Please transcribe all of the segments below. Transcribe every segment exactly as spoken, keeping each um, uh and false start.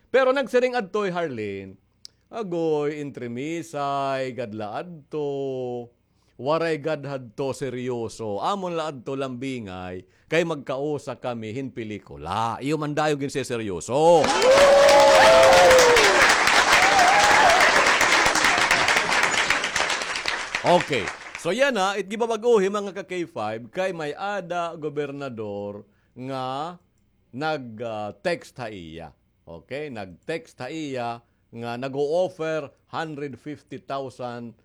Pero nagsiring adto hi Harlene, agoy, entremisay gad la adto. Waray gad hadto seryoso. Amon la adto lambingay, kay magkausa kami hin pelikula. Iyo man dayon ginseseryoso. Okay. So yana, it gibabag-o hi mga ka-K five, kay may-ada gobernador nga nag, ah, text ha iya. Okay? Nag-text ha iya nga nag-o-offer hundred fifty thousand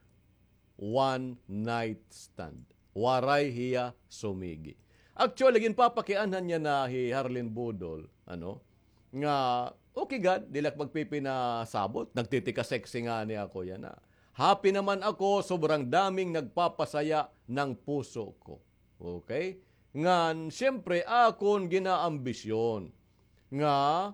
one night stand. Waray hiya sumigi. Actually, ginpapakianhan niya na hi Harlene Budol, ano, nga, okay gad, diri la ak magpipinasabot, nagtitika-sexy ngani ako yana. Happy naman ako, sobrang daming nagpapasaya ng puso ko. Okay? Ngan, siyempre, akon ginaambisyon nga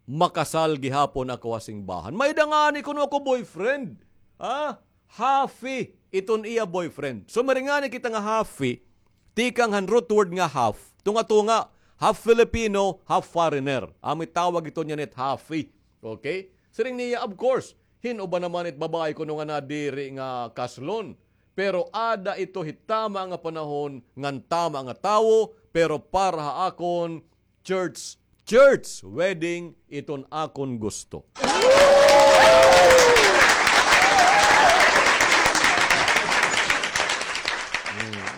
makasal gihapon ako ha simbahan. May-ada ngani kuno ako boyfriend. Ha? Hafi iton iya boyfriend. So, mari ngani kita nga hafi, tikang han root word nga half. Tunga-tunga, half Filipino, half foreigner. Amo it tawag iton yana it hafi. Okay? Siring niya, of course, hin-o ba naman it babaye kuno nga nadiri nga kaslon. Pero ada ito hit tama nga panahon ngan tama nga tawo, pero para ha akon, church, church wedding iton akon gusto. Hmm.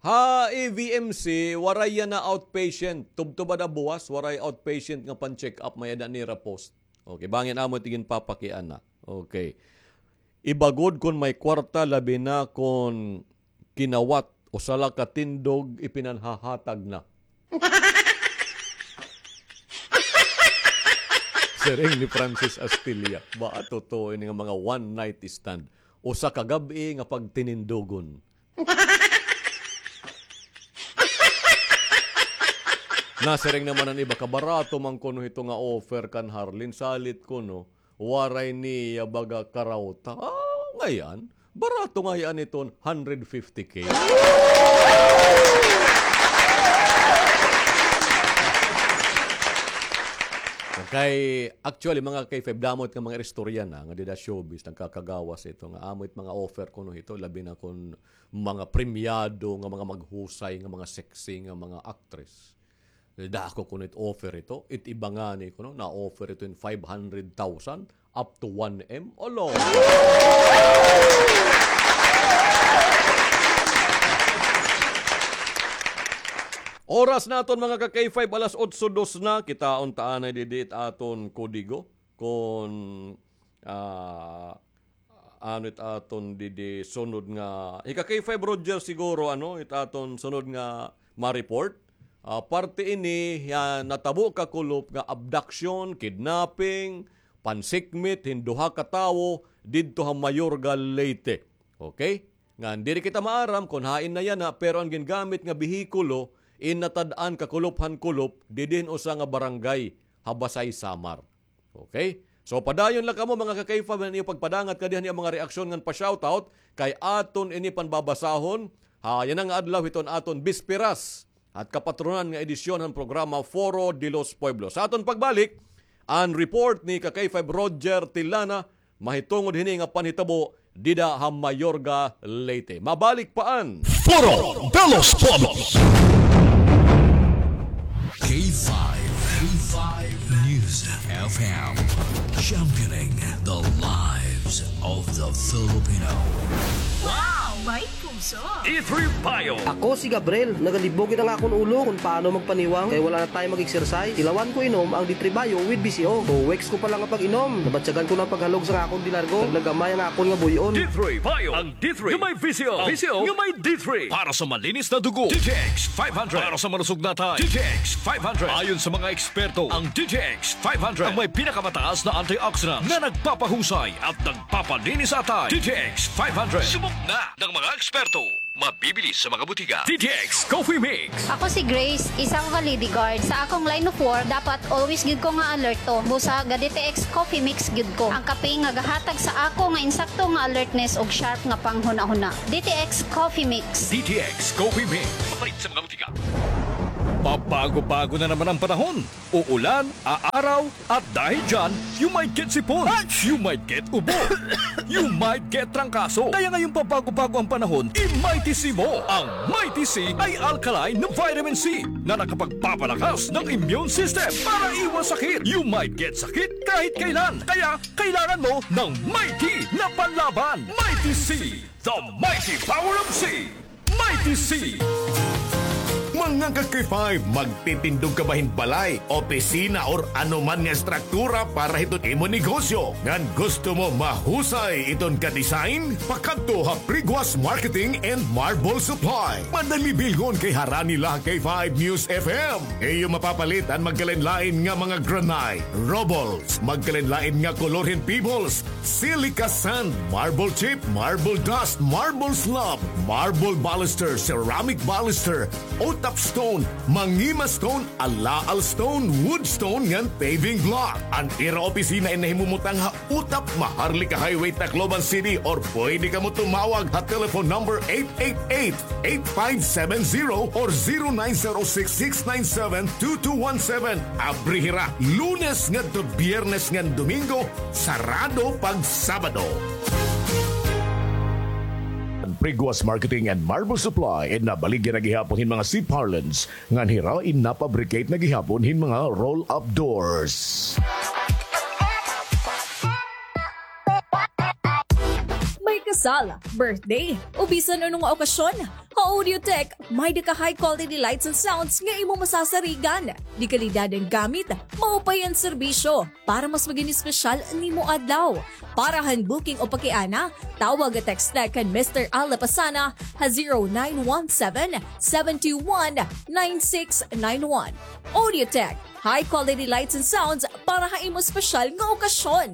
Ha E V M C, waray yana outpatient. Tubtob ada buwas, waray outpatient nga pan-check-up, may-ada nira post. Okay, bangin amo it ginpapakiana. Okay. Iba gud kon may kwarta, labi na kon kinawat, usa la ka tindog ipinanhahatag na. Siring ni Francis Astilla, ba, totoo ini nga mga one night stand. Usa ka gab-i nga pagtinindogon. Nasiring naman an iba, kabarato man kuno hito nga offer kan Harlene, salit kuno, waray niya baga karawta. Ah, ngay-an, barato ngay-an iton hundred fifty K. Okay, actually, mga K five, damo it nga mga istorya na nga dida showbiz, nagkakagawas ito nga amo it mga offer kuno hito, labi na kon mga premyado nga mga maghusay nga mga sexy nga mga actress. Dako kuno it offer ito. It iba ngani kuno, na-offer ito hin five hundred thousand up to one M. Olo! Oras naton, mga ka-K five, alas otso dos na. Kitaon ta anay didi it aton kodigo. Kon, ah, ano it aton didi sunod nga, ika-K five Roger siguro, ano, it aton sunod nga ma-report. Ah, parte ini, ah, natabo kakulop nga abduction, kidnapping, pansikmit hin duha ka tawo didto ha Mayorga, Leyte. Okay? Ngan diri kita maaram kon hain na yana, pero an gingamit nga behikulo, in natad-an kakulop han kulop didi hin usa nga barangay ha Basey, Samar. Okay? So, padayon la kamo, mga ka-K five, han iyo pagpadangat kadi han iyo mga reaksyon ngan pa-shoutout, kay aton ini panbabasahon ha yana nga adlaw hiton aton bisperas at kapatronan nga edisyon han programa Foro de los Pueblos. Sa aton pagbalik, an report ni ka-K five Roger Tilana mahitungod hini nga panhitabo dida ha Mayorga, Leyte. Mabalik pa an Foro de los Pueblos. K five, K five News F M, championing the lives of the Filipino. Wow! May puso! D three Bio. Ako si Gabriel. Nagalibog it ang akon ulo kon paano magpaniwang kay wala na tayo mag-exercise. Tilawan ko inom ang D three Bio with V C O. Two weeks ko pa lang nga pag-inom, nabatyagan ko na an paghalog sa akon dilargo. Naglagamay ang akon nga buy-on. D three Bio. Ang D three nga may V C O. V C O nga may D three. Para sa malinis na dugo, D T X five hundred. Para sa malusog na atay, D T X five hundred. Ayon sa mga eksperto, ang D T X five hundred ang may pinakamataas na antioxidant na nagpapahusay at nagpapalinis sa atay. D T X five hundred. Subok na ng mga eksperto. Mabibili sa mga butika. D T X Coffee Mix. Ako si Grace, isang Validi guard. Sa akong line of work, dapat always gyud ko nga alerto. Busa ga D T X Coffee Mix gyud ko. Ang kape nga gahatag sa ako nga insakto nga alertness ug sharp nga panghunahuna. D T X Coffee Mix. D T X Coffee Mix. Mapalit sa mga butika. Pabago-bago na naman ang panahon. Uulan, aaraw, at dahil dyan, you might get sipon, you might get ubo, you might get trangkaso. Kaya ngayong pabago-bago ang panahon, i-Mighty C mo. Ang Mighty C ay alkaline na vitamin C na nakapagpapalakas ng immune system para iwas sakit. You might get sakit kahit kailan. Kaya kailangan mo ng Mighty na panlaban. Mighty C, the mighty power of C. Mighty C. Mga ka-K five, magtitindog ka ba hin balay, opisina, or ano man nga estruktura para hiton imo negosyo? Ngan gusto mo mahusay iton ka-design? Pakadto ha Priguas Marketing and Marble Supply. Madali bilngon kay harani la ha K five News F M. Iyo mapapalit an magkalain-lain nga mga granite, rubbles, magkalain-lain nga kolor hin pebbles, silica sand, marble chip, marble dust, marble slab, marble baluster, ceramic baluster, utap stone, mangima stone, alaal stone, wood stone, ngan paving block. An ira opisina in nahimumutang ha Utap, Maharlika Highway, Tacloban City, or pwede kamo tumawag ha telephone number eight eight eight, eight five seven zero or zero nine zero six, six nine seven, two two one seven. Abri hira Lunes ngadto Biyernes ngan Domingo, sarado pag Sabado. Priguas Marketing and Marble Supply, in nabaligya na gihapon hin mga C parlance, ngan hira in napabricate na gihapon hin mga roll-up doors. May kasal, birthday, o bisan ano nga okasyon, ha Audiotech, may-da ka high quality lights and sounds nga imo masasarigan. De kalidad an gamit, maupay an serbisyo. Para mas maging espesyal an imo adlaw. Para han booking o pakiana, tawag o text kan Mister Al Lapasana ha zero nine one seven, seven two one, nine six nine one. Audiotech, high quality lights and sounds para ha imo espesyal nga okasyon.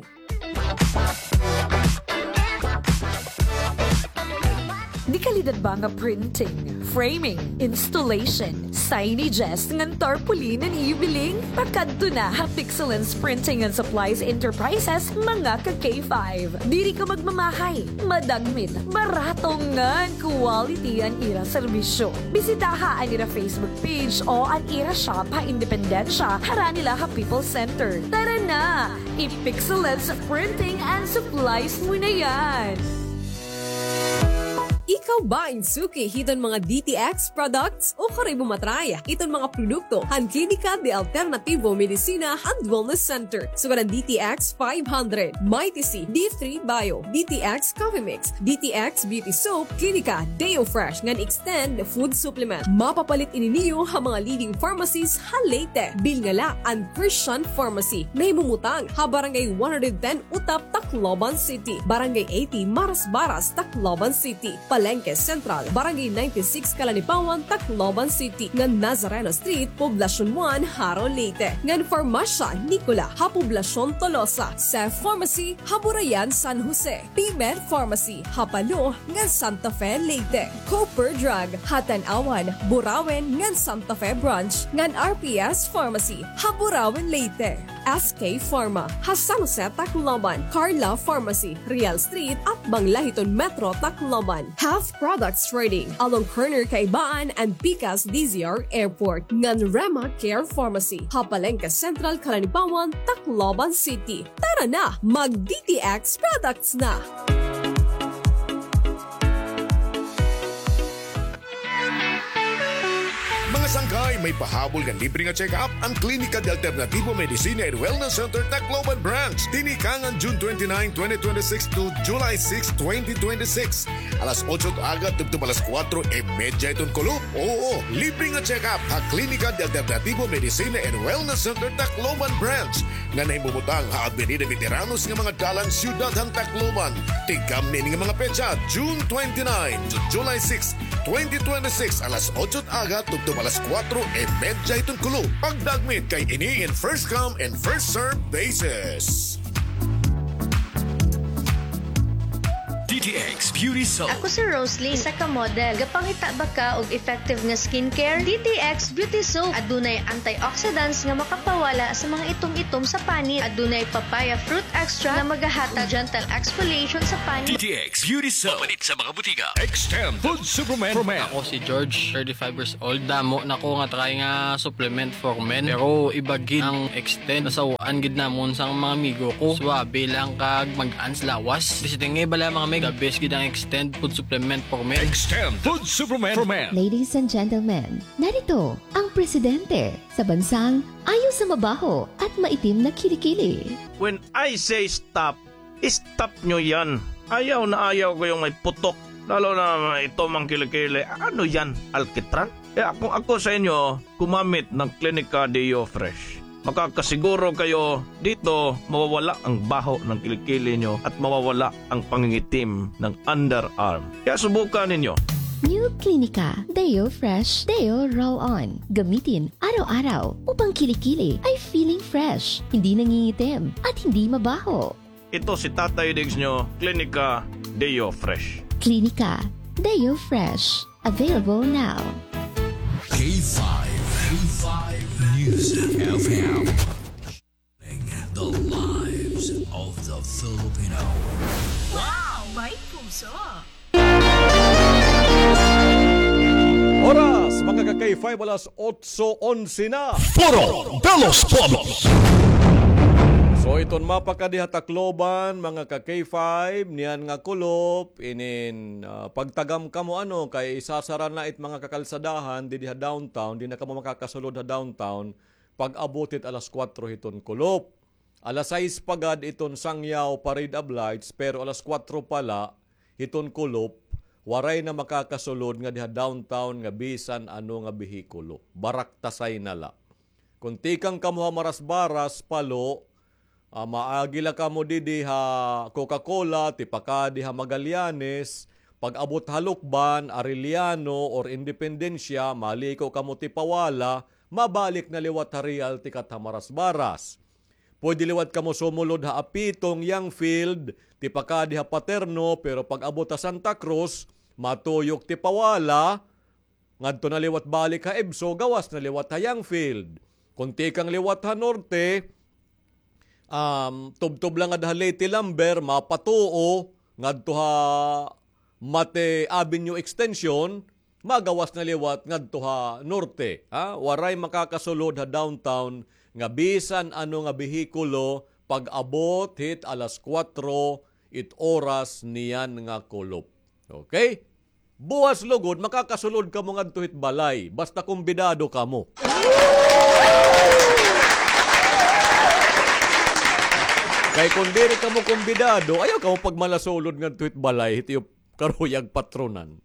De kalidad ba nga printing, framing, installation, signages, ngan tarpaulin an iyo biling? Pakadto na ha Pixelens Printing and Supplies Enterprises, mga ka-K five. Diri ka magmamahay, madagmit, barato ngan quality an ira serbisyo. Bisitaha an ira Facebook page o an ira shop ha Independencia, harani la ha People's Center. Tara na! I-Pixelens Printing and Supplies mo na yan! Ikaw ba in suki hiton mga D T X products? Ukon imo ma-try iton mga produkto han Klinika de Alternativo Medicina and Wellness Center. Sugad an D T X five hundred, Mighty C, D three Bio, D T X Coffee Mix, D T X Beauty Soap, Klinika Deo Fresh ngan Extend Food Supplement. Mapapalit ini niyo ha mga leading pharmacies ha Leyte. Bilnga la an Christian Pharmacy, nahimumutang ha Barangay one hundred ten Utap, Tacloban City, Barangay eighty Marasbaras, Tacloban City, Palengke Central, Barangay ninety-six Calanipawan, Tacloban City, ngan Nazareno Street, Poblacion one, Jaro, Leyte, ngan Farmasya Nicola ha Poblacion Tolosa, Cef Pharmacy ha Burayan, San Jose, P-Med Pharmacy ha Palo ngan Santa Fe, Leyte, Cooper Drug ha Tanauan, Burauen ngan Santa Fe Branch, ngan R P S Pharmacy ha Burauen, Leyte, S K Pharma ha San Jose, Tacloban, Carla Pharmacy, Real Street, atbang la hiton Metro Tacloban, Health Products Trading along corner Kaibaan and Pikas D Z R Airport, ngan Rema Care Pharmacy ha Palengke Central, Calanipawan, Tacloban City. Tara na, mag-D T X products na! Mga sangkay, may pahabol nga libre nga check-up an Klinika de Alternativo Medicina and Wellness Center, Tacloban Branch. Tinikangan June twenty-nine, twenty twenty-six to July six, twenty twenty-six. Alas otso it aga tubtob alas kuwatro y medya hiton kulop. Oo, libre nga check-up ha Klinika de Alternativo Medicina and Wellness Center, Tacloban Branch, nga nahimumutang ha Avenida Veteranos nga mga dalan, siyudad han Tacloban. Tigamni ini nga mga petsa, June twenty-nine to July six, twenty twenty-six, alas otso it aga tubtob alas kuwatro y medya hiton kulop. Pagdagmit kay ini in first come and first serve basis. D T T X Beauty Soap. Ako si Rosalie, isa ka model. Gapangita ba ka og effective nga skincare? T T X Beauty Soap. Adunay antioxidants nga makapawala sa mga itom-itom sa panit. Adunay papaya fruit extract nga magahatag gentle exfoliation sa panit. T T X Beauty Soap. Mapalit sa mga butika. Extend Food Supplement for Men. Ako si George, thirty-five years old. Damo na ko nga try nga supplement for men. Pero iba gid ang Extend. Nasawaan gid namon sang mga amigo ko. Suabe lang kag mag-ans lawas. Di siya tingay bala, mga mig. The best gid ang Extend food supplement for men. Extend food supplement for men. Ladies and gentlemen, narito ang presidente sa bansang ayaw sa mabaho at maitim na kilikili. When I say stop, stop nyo yan. Ayaw na ayaw ko yung may putok. Lalo na may itom ang kilikili. Ano yan? Alkitran? Kaya kung ako sa inyo, gumamit ng Clinica Deo Fresh. Makakasiguro kayo dito, mawawala ang baho ng kilikili nyo at mawawala ang pangingitim ng underarm. Kaya subukan ninyo. New Clinica Deo Fresh Deo Roll-On. Gamitin araw-araw upang kilikili ay feeling fresh, hindi nangingitim, at hindi mabaho. Ito si Tatay Diggs nyo, Clinica Deo Fresh. Clinica Deo Fresh. Available now. K five, K five News F M. The lives of the Filipino. Wow! May puso! Oras, mga ka-K five, alas otso onse na. Foro de los Pueblos. So, iton mapa ka diha Tacloban, mga ka-K five, niyan nga kulop, inin, ah, pagtagam kamo, ano, kay isasara na it mga kakalsadahan didi ha downtown, di na kamo makakasulod ha downtown pag-abot hit alas kuwatro hiton kulop. Alas sais pa gad iton Sangyaw Parade of Lights, pero alas kuwatro pa la hiton kulop, waray na makakasulod ngadi ha downtown nga bisan ano nga behikulo. Baraktasay na la. Kon tikang kamo ha Marasbaras, Palo, ah, maagi la kamo didi ha Coca-Cola, tipakadi ha Magallanes, pag-abot ha Lucban, Arellano, or Independencia, maliko kamo Tipawala, mabalik na liwat ha Real tikat ha Marasbaras. Pwede liwat kamo sumulod ha Apitong, Young Field, tipakadi ha Paterno, pero pag-abot ha Santa Cruz, matuyok Tipawala, ngadto na liwat balik ha EVSO, gawas na liwat ha Young Field. Kon tikang liwat ha norte, um, tubtob la ngada ha Leyte Lumber, mapatuo ngadto ha Mate Avenue Extension, magawas na liwat ngadto ha norte, ha? Waray makakasulod ha downtown nga bisan ano nga behikulo pag-abot hit alas kuwatro it oras niyan nga kulop. Okay? Buwas lugod, makakasulod kamo ngadto hit balay. Basta kumbidado kamo. Kay kon diri kamo kumbidado, ayaw kamo pagmalasulod ngadto hit balay, hit iyo karuyag patronan.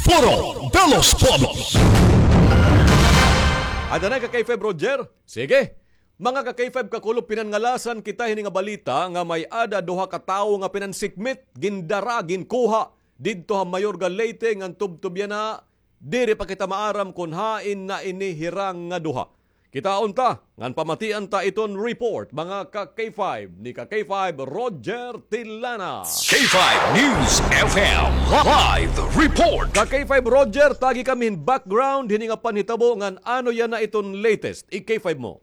Foro de los Pueblos. Ada na ka K five, Roger? Sige. Mga ka K five, kakulop, pinangalasan kita hini nga balita nga may-ada duha ka tawo nga pinansikmit, gindara, ginkuha didto ha Mayorga, Leyte, ngan tubtob yana diri pa kita maaram kon hain na ini hirang nga duha. Kitaon ta, ngan pamatian ta iton report, mga ka K five, ni ka K five Roger Tilana. K five News F M live report. Ka K five Roger, tagi kami hin background hini nga panhitabo ngan ano yana iton latest. I K five mo.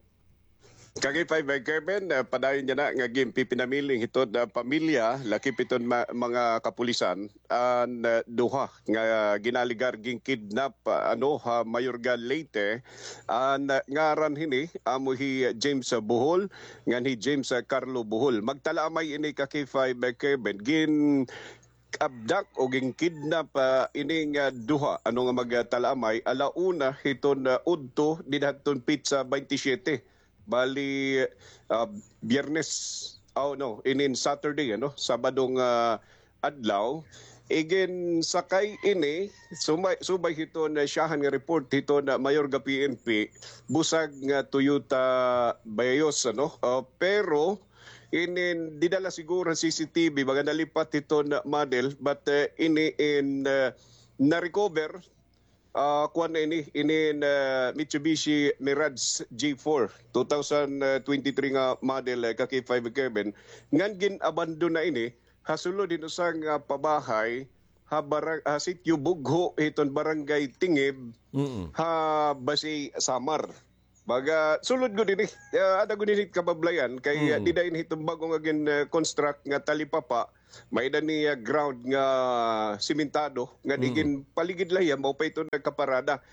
Ka K five, eh, Kevin, eh, padayon yana nga ginpipinamiling hiton, ah, pamilya, lakip hiton ma-, mga kapulisan, an, ah, duha nga ginalegar ginkidnap, ah, ano, ha Mayorga, Leyte. An, ah, ngaran hini, amo hi James, ah, Bohol, ngan hi James, ah, Carlo Bohol. Magtalaamay ini ka K five, eh, Kevin. Gin-abduct o ginkidnap, ah, ini nga duha, ano nga magtalaamay, ala una hiton, ah, udto, dida hiton petsa twenty-seven. Bali, ah, Biyernes, oh, no, inin Saturday, ano, Sabado nga adlaw. Iginsakay ini, sumay-, subay hiton, ah, syahan nga report hiton, ah, Mayorga P N P, busag nga Toyota Vios, ano. Ah, pero, inin, dida la siguro han C C T V, baga nalipat hiton, ah, model, but, ah, ini in, ah, na-recover, Ah, kuan na ini, inin, ah, Mitsubishi Mirage G four, two thousand twenty-three nga model, eh, ka K five Kevin. Ngan gin-abandon na ini, ha sulod hin usa nga pabahay, ha barang-, ha sitio Bugho, hiton barangay Tingib, Mm-mm. ha Basi, Samar. Baga, sulod gud ini. Ah, ada gud ini kabablayan kay, ah, Mm. dida ini hiton bag-o nga gin, ah, construct nga talipapa, may-ada ni, ah, ground nga simentado nga Mm. igin paligid la hiya, mao pa iton nagkaparada.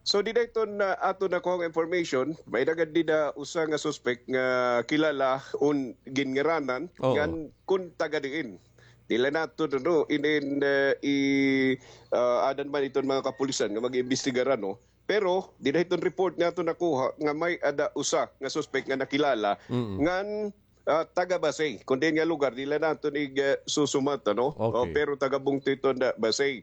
So, dida iton, ah, aton nakuha nga information, may-ada gad dida usa nga suspect nga kilala un ginngaranan Oh. ngan kun taga diin. Diri la naton, no, inin, ah, i, ah, adan man iton mga kapulisan nga mag-iimbestigar, no? Pero, dida hiton report nga aton nakuha nga may-ada usa nga suspect nga nakilala Mm. ngan, ah, taga Basi. Kun diin nga lugar, diri la naton ig, ah, susumat, ano? Okay. O, pero taga bungto iton Basi.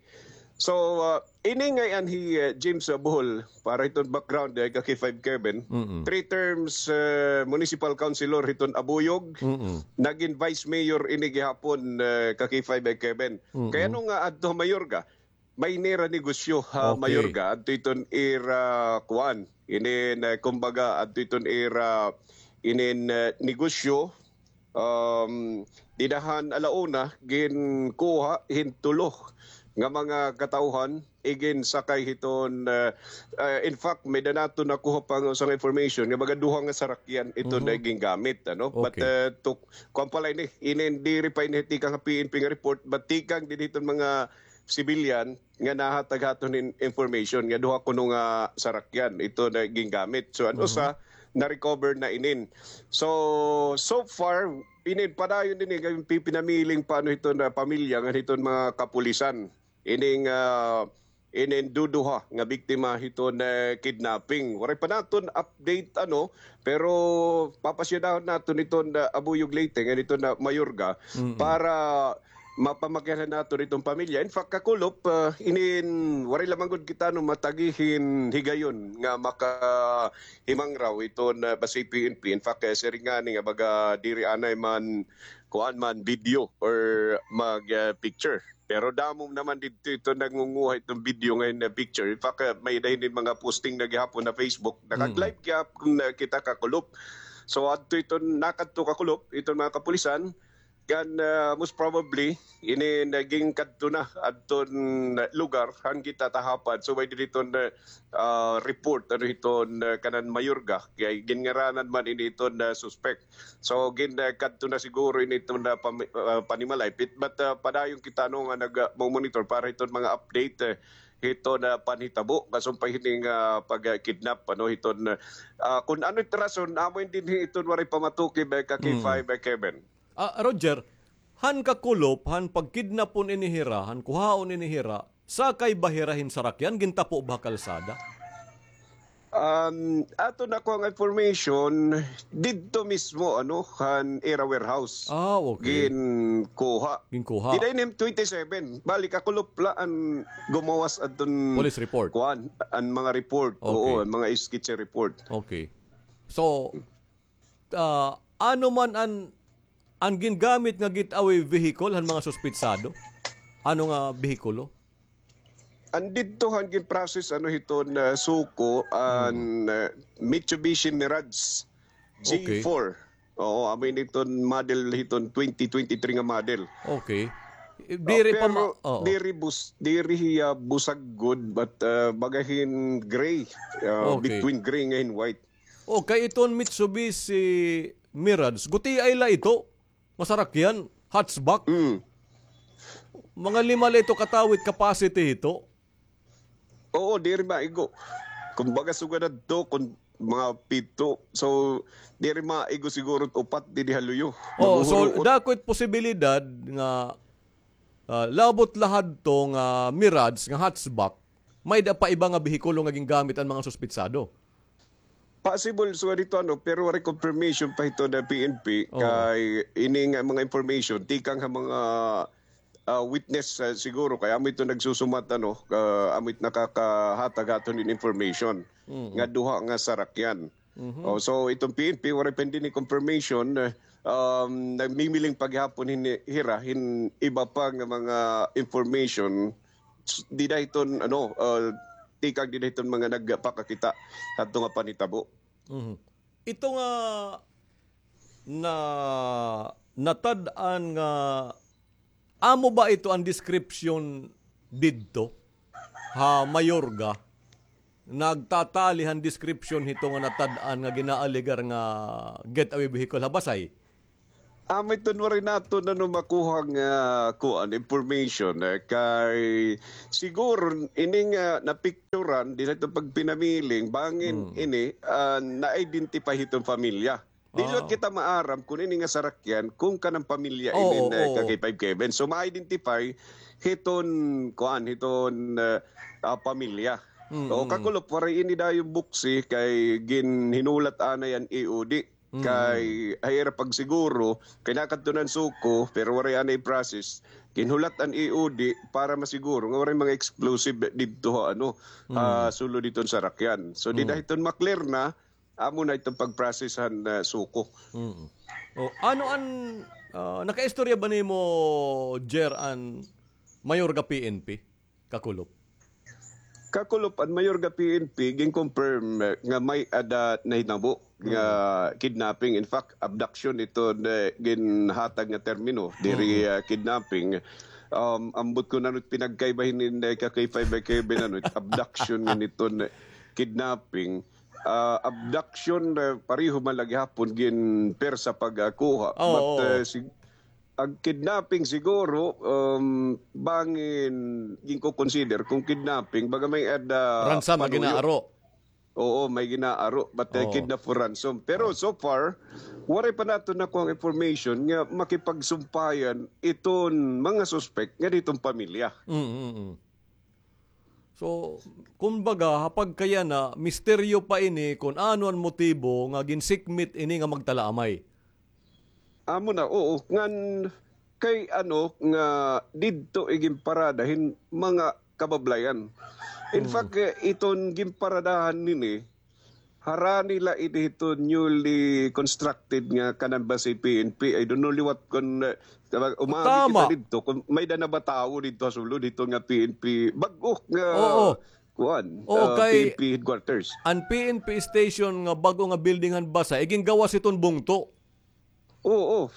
So, ah, ini ngay-an hi, ah, James, ah, Bohol, para hiton background, eh, ka K five Kevin. Mm-mm. Three terms, ah, municipal councilor hiton Abuyog. Mm-mm. Nagin vice mayor ini gihapon, ah, ka K five, eh, Kevin. Mm-mm. Kay ano nga adto mayor ka? May nira negosyo ha Okay. Mayorga, adto iton ira, kuan, inin, eh, kumbaga, adto iton ira, inin, eh, negosyo, um, dida han alauna, ginkuha hin tulo nga mga katawhan, iginsakay hiton, eh, eh, in fact, may-ada naton nakuha pa nga usa nga information nga mga duha nga sarakyan iton Mhm. na gingamit, ano? But, Okay. eh, to, kuan pa la ini, inin diri pa ini tikang ha P N P nga report, but tikang dinhi hiton mga civilian nga nahatag ha aton hin information nga duha kuno nga sarakyan iton na gingamit. So, an Mhm. usa, na-recover na inin. So, so far, inin padayon ini nga pipinamiling pa ano hiton na pamilya ngan hiton mga kapulisan. Ining, ah, inin duduha nga biktima hiton na kidnapping. Waray pa naton update, ano, pero papasyadahon naton iton na Abuyog Leyte, ngan iton na Mayorga, Mm-mm. para mapamakianhan naton iton pamilya. In fact, kakulop, ah, inin, waray lamang gud kita, no, matagi hin higayon nga makahimangraw iton, ah, basi P N P. In fact, eh, siring ngani nga baga diri anay man, kuan man, video or mag, ah, picture. Pero damo naman didto iton nangunguha iton video ngan hin, ah, picture. In fact, ah, may-ada hin mga posting na gihapon ha Facebook. Mm. Nakag-live gihapon, ah, kita kakulop. So, adto iton, nakadto kakulop, iton mga kapulisan, Ngan, ah, most probably, ini naging kadto na adton lugar han kita tahapad. So, may diri iton, ah, report, ano, hiton, ah, kanan Mayorga. Kay ginngaranan man ini iton, ah, suspect. So, gin, ah, kadto na siguro ini iton, ah, pami-, ah, panimalay. Pit-, but, ah, padayon kita, no, nga nag, ah, mo-monitor para hiton mga update, eh, hiton, ah, panhitabo. Kasumpay hini nga pag, ah, kidnap, ano, hiton, ah, kun ano it rason, amo ini dinhi iton waray pamatukib, eh, ka K five, eh, Kevin. Ah, Roger, han kakulop, han pagkidnapon ini hira, han kuhaon ini hira, sakay ba hira hin sarakyan, gintapo ba ha kalsada? Um, aton nakuha nga information, didto mismo, ano, han ira warehouse. Ah, okay. Ginkuha. Ginkuha. Dida ini twenty-seven. Bali, kakulop la an gumawas adton Police report. Kuan, an mga report. Okay. Oo, an mga sketchy report. Okay. So, ah, ano man an, an gingamit nga getaway vehicle han mga suspitsado? Ano nga behikulo? An didto han gin-process, ano, hiton, ah, suko, an, Hmm. ah, Mitsubishi Mirage Okay. G four. Oo, amo ini iton model hiton twenty twenty-three nga model. Okay. Oh, diri pa pero ma-, oo. Diri bus-, diri hiya busag gud, but, ah, baga hin gray, ah, Okay. between gray ngan hin white. O, kay iton Mitsubishi Mirage, gutiay la ito. Nga sarakyan, hatchback. Mm. Mga lima la ito katawo it capacity hito. Oo, diri maigo. Kumbaga, sugad adto, kun mga pito. So, diri maigo siguro upat didi ha luyo. Oh, so, Maguhuruot. Dako it posibilidad nga, ah, labot la hadto nga Mirage, nga hatchback, may-ada pa iba nga behikulo nga gingamit an mga suspitsado. Possible, so, dito, ano, pero waray confirmation pa hito na P N P, Oo. kay ini nga mga information, tikang ha mga, ah, witness, ah, siguro, kay amo ito nagsusumat, ano, ah, amo it nakakahatag aton hin information, Mm. nga duha nga sarakyan. Mhm. Oh, so, itong P N P, waray pa hindi ni confirmation, eh, um, nagmimiling pa gihapon hin, hira, hin iba pa nga mga information, s-, dida hiton, ano, ah, tikang dida hiton mga nagpakakita hadto nga panhitabo. Mhm. Ito nga na, natad-an nga, amo ba ito an description didto ha Mayorga? Nagtatali han description hito nga natad-an nga ginaalegar nga getaway vehicle ha Basay? Amo iton waray naton ano makuha nga kuan, information, eh, kay siguro ini nga napicturan dida hiton pagpinamiling bangin ini, ah, na-identify hiton pamilya. Di liwat kita maaram kon ini nga sarakyan kon kanan pamilya ini, eh, ka K five Kevin. So ma-identify hiton kuan, hiton, eh, ah, pamilya. O kakulop, waray ini dayon buksi kay ginhinulat anay an E O D. Kay ha ira pagsiguro kay nakadto na an SOCO, pero waray anay process. Ginhulat an E O D para masiguro nga waray mga explosive didto ha ano, ha sulod hiton sarakyan. So dida hiton ma-clear na, amo na iton pag-process han, ah, SOCO. O, ano an, ah, nakaistorya ba nimo, Jer, an Mayorga P N P? Kakulop. Kakulop, an Mayorga P N P gin-confirm, eh, nga may-ada nahitabo nga kidnapping. In fact, abduction ito na ginhatag nga termino. Diri, ah, kidnapping. Um, ambot kon ano it pinagkaiba hini, eh, ka K five Kevin, ano, it abduction ngan iton kidnapping. Ah, abduction, eh, pareho man la gihapon gin-, persa pagkuha. But, eh, sig-, An kidnapping siguro, um, bangin ginko-consider kon kidnapping, baga may-ada ransom nga ginaaro. Oo, may ginaaro, but, uh, kidnap for ransom. Pero so far, waray pa naton nakuha nga information nga makipagsumpayan iton mga suspek nga diton pamilya. Mm, mm, mm. So, kumbaga, ha pagkayana, misteryo pa ini kon ano an motibo nga ginsikmit ini nga magtalaamay. Amo na, oo. Ngan kay ano nga didto iginparada hin mga kabablayan. In fact, eh, iton ginparadahan nini, harani la ini hiton newly constructed nga kanan base P N P. I don't know liwat kon, eh, umagi kita didto, kon may-ada na ba tawo didto ha sulod hiton nga P N P. Bag-o nga, kuan, ah, kay P N P headquarters. An P N P station nga bag-o nga building han Basay, igingawas hiton bungto. Oo.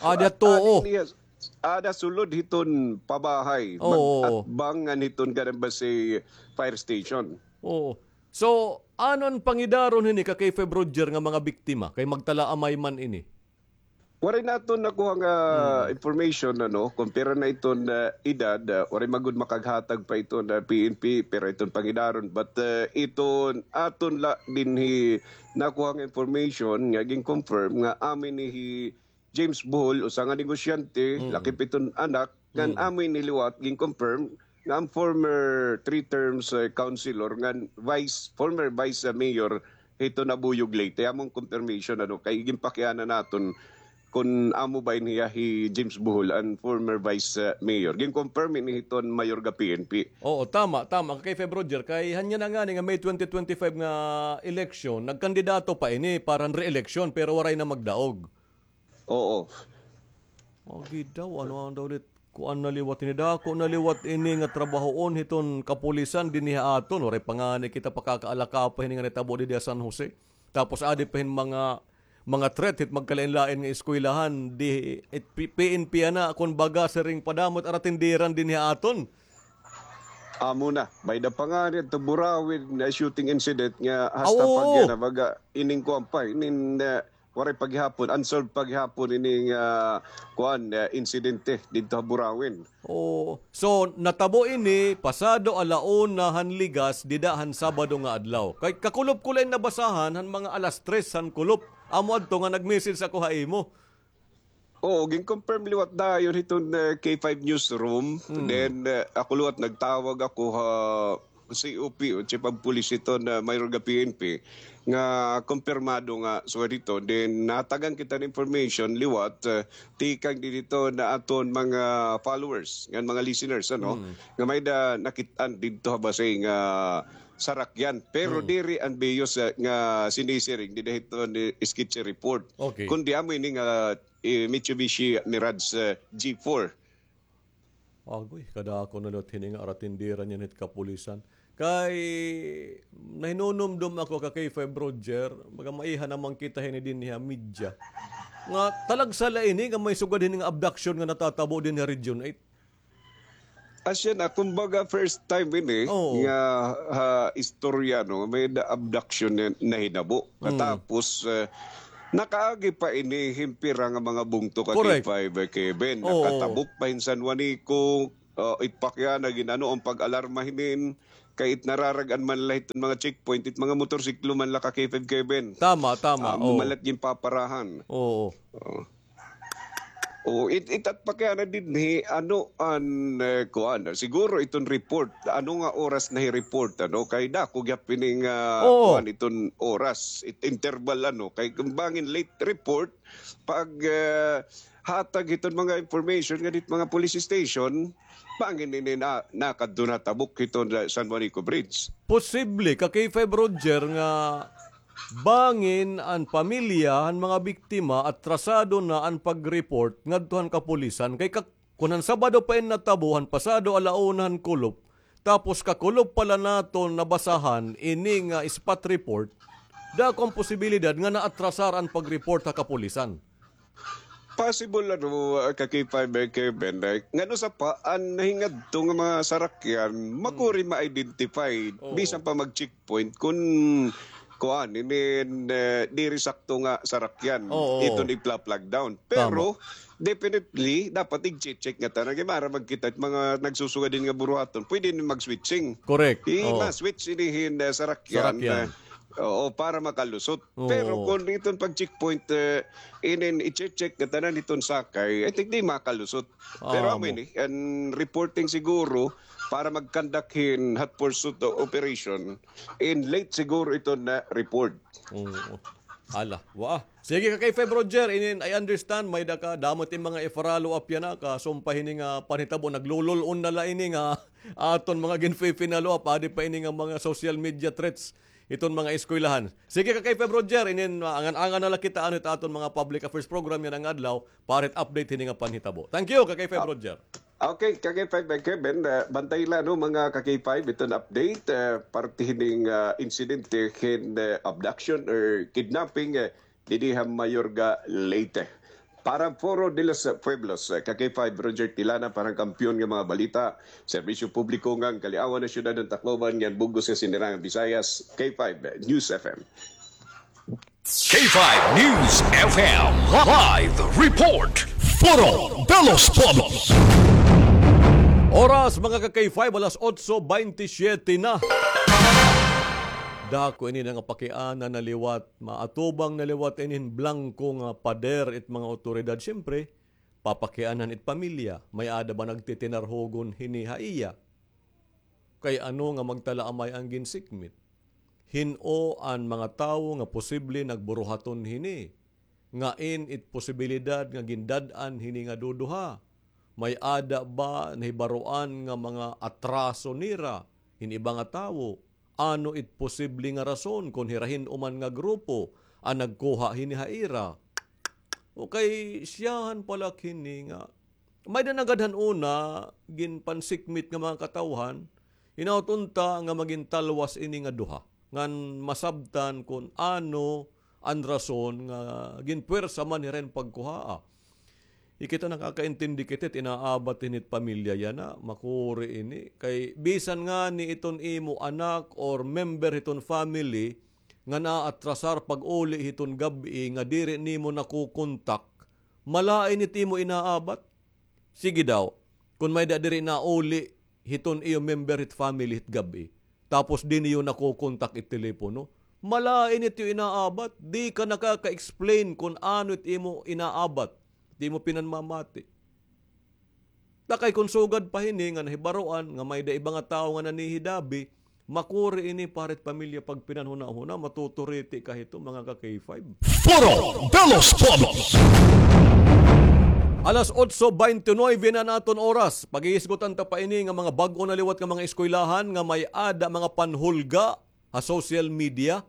Ada sulod hiton pabahay. Oo. Mag-atbang ngan hiton kanan base fire station. Oo. So, ano an pangidaron hini ka K five Roger nga mga biktima kay magtalaamay man ini? Waray naton nakuha nga information, ano, kon pira na iton, ah, edad, ah, waray man gud makaghatag pa iton, ah, P N P, pira iton pangidaron. But, ah, iton aton la dinhi nakuha nga information nga gin-confirm nga amo ini hi James Bohol, usa nga negosyante, lakip iton anak, ngan amo ini liwat gin-confirm nga an former three terms, eh, councilor ngan vice, former vice, eh, mayor hiton Nabuyog, Leyte. Amo an confirmation, ano, kay ginpakiana naton kon amo ba ini hiya hi James Bohol, an former vice, eh, mayor. Gin-confirm ini hiton Mayorga P N P. Oo, tama, tama. Kay Feb Roger, kay hanya na ngani nga May twenty twenty-five nga election, nagkandidato pa ini para re-election, pero waray na magdaog. Oo. Agi daw, ano an daw lit, kuan na liwat ini, dako na liwat ini nga trabahoon hiton kapulisan dinhi ha aton. Waray pa ngani kita pakakaalakapa hini nga nitabo didi ha San Jose. Tapos adi pa hin mga, mga threat hit magkalain-lain nga eskwelahan, di, it P-, P N P ana, kon baga siring padamo it aratindiran dinhi ha aton. Amo na, may-ada pa ngani adto Burauen na shooting incident nga hasta pa gihapon, baga ining kuan pa, ining, ah, waray pa gihapon, unsolved pa gihapon ining, ah, kuan, ah, insidente didto ha Burauen. Oo. So, natabo ini pasado ala una han ligas dida han Sabado nga adlaw. Kay kakulop ko la ini nabasahan han mga alas tres han kulop. Amo adto nga nag-message ako ha imo. Oo, gin-confirm liwat dayon hiton, eh, K five Newsroom. Then, eh, ako liwat nagtawag ako ha C O P o Chief of Police hiton, eh, Mayorga P N P nga kumpirmado nga sugad hito. Then, nahatagan kita hin information liwat, eh, tikang didto ha aton mga followers ngan mga listeners, ano, nga may-ada nakit-an didto ha Basey nga sarakyan. Pero diri an biyos, eh, nga sinisiring dida hiton sketchy report. Okay. Kundi amo ini nga, eh, Mitsubishi Mirage, eh, G four. Agoy, kadako na liwat hini nga aratindiran niyan hit kapulisan. Kay nahinunumdom ako ka K five Roger, baga maiha naman kita hini dinhi ha media. Nga talagsa la ini nga may sugad hini nga abduction nga natatabo dinhi ha Region eight. Asya na, kumbaga first time ini Oo. nga ha istorya, no, may na abduction na nahinabo. Mm. Katapos, eh, nakaagi pa ini hin pira nga mga bungto ka Correct. K five, eh, Kevin. Oo. Nakatabok pa hin San Juanico, ah, it pakya na ginano an pag-alarma hinin, kay it nararag-an man la hiton mga checkpoint, it mga motorsiklo man la ka K five Kevin. Tama, tama, Ah, oo. Malat ginpaparahan. Oo. Oo. Oo, it, it at pakya na dinhi, ano an, eh, kuan, siguro iton report, ano nga oras na hi-report, ano, kay dako gyapon ini nga, Oo. kuan, iton oras, it interval, ano, kay kung bangin late report, pag, eh, hatag hiton mga information ngadto hit mga police station, bangin ini na, nakadto na tabok hiton, eh, San Juanico Bridge. Posible, ka K five Roger, nga bangin an pamilya han mga biktima atrasado na an pag-report ngadto han kapulisan. Kay ka-, kun han Sabado pa ini natabo, han pasado ala una han kulop, tapos kakulop pa la naton nabasahan ini nga spot report, dako an posibilidad nga naatrasar an pag-report ha kapulisan. Possible, ano, ah, ka K five, eh, Kevin, eh, ngano sa pa, an nahingadto nga mga sarakyan, makuri ma-identify, Oo. bisan pa mag-checkpoint, kun, kuan, I mean, eh, diri sakto nga sarakyan, Oo. iton ipla-flag down. Pero, Tama. definitely, dapat i-check nga tanan, kay maaram man kita, mga nagsusugad hin nga buruhaton, pwede ini mag-switching. Correct. I-, Oo. ma-switch ini hin, eh, sarakyan, Sarakyan. eh, Oo, para makalusot. Oo. Pero kun iton pag-checkpoint, eh, inin i-check nga tanan iton sakay, I think di makalusot. Pero Ah, amo mo. ini, an reporting siguro para mag-conduct hin hot pursuit o-, operation, in late siguro iton na report. Oo. Hala, wa. Sige ka K five Roger, inin, I understand, may-ada ka, damo it mga i-follow up yana, kasumpa hini nga panhitabo, naglulul-on na la ini nga aton mga ginfi-follow up, adi pa ini nga mga social media threats. Iton mga eskwelahan. Sige ka K five Roger, inin, ah, angan-angan na la kita ano it aton mga public affairs program yana nga adlaw para it update hini nga panhitabo. Thank you ka K five Ah, Roger. Okay, ka K five, eh, Kevin, eh, bantay la, no, mga ka K five, iton update, eh, parte hining, ah, insidente hin, eh, abduction or kidnapping, eh, didi ha Mayorga, Leyte. Para Foro de los Pueblos, eh, ka K five Roger Tilana, para han Kampiyon nga mga Balita, Serbisyo Publiko ngan Kaliawan han Syudad han Tacloban ngan bug-os nga Sinirangan Visayas, K five News F M. K five News F M live report. Foro de los Pueblos. Oras, mga ka K five, alas otso baynte-syete na. Dako ini nga pakiana na liwat Maatubang na liwat ini hin blangko nga pader it mga awtoridad. Siyempre, papakianhan it pamilya. May-ada ba nagtitinarhugon hini ha iya? Kay ano nga magtalaamay an ginsikmit? Hin-o an mga tawo nga posible nagburuhaton hini? Ngain it posibilidad nga gindad-an hini nga duduha? May-ada ba nahibaroan nga mga atraso nira hin iba nga tawo? Ano it posible nga rason kon hira hin-o man nga grupo an nagkuha hini ha ira? O kay siyahan pala hini nga may-ada na gad han una ginpansikmit nga mga katawhan, hinaot unta nga magin talwas ini nga duha ngan masabtan kon ano an rason nga ginpuwersa man hira hin pagkuhaa. Ikita, nakakaintindi kita it inaabat hini it pamilya yana, makuri ini. Kay bisan ngani iton imo anak or member hiton family nga naatrasar pag-uli hiton gab-i nga diri nimo nakokontak, malain it imo inaabat. Sige daw, kon may-ada diri nauli hiton iyo member hit family hit gab-i, tapos di niyo nakokontak it telepono, malain it iyo inaabat, di ka nakaka-explain kon ano it imo inaabat, it imo pinanmamati. Ta kay kon sugad pa hini nga nahibaroan nga may-ada iba nga tawo nga nanhihidabi, makuri ini para it pamilya pagpinanhunahuna, matuturiti ka hito, mga ka K five. Foro de los Pueblos. Alas otso baynte nuebe na an aton oras. Paghihisgutan ta pa ini nga mga bag-o na liwat nga mga eskwelahan nga may-ada mga panhulga ha social media.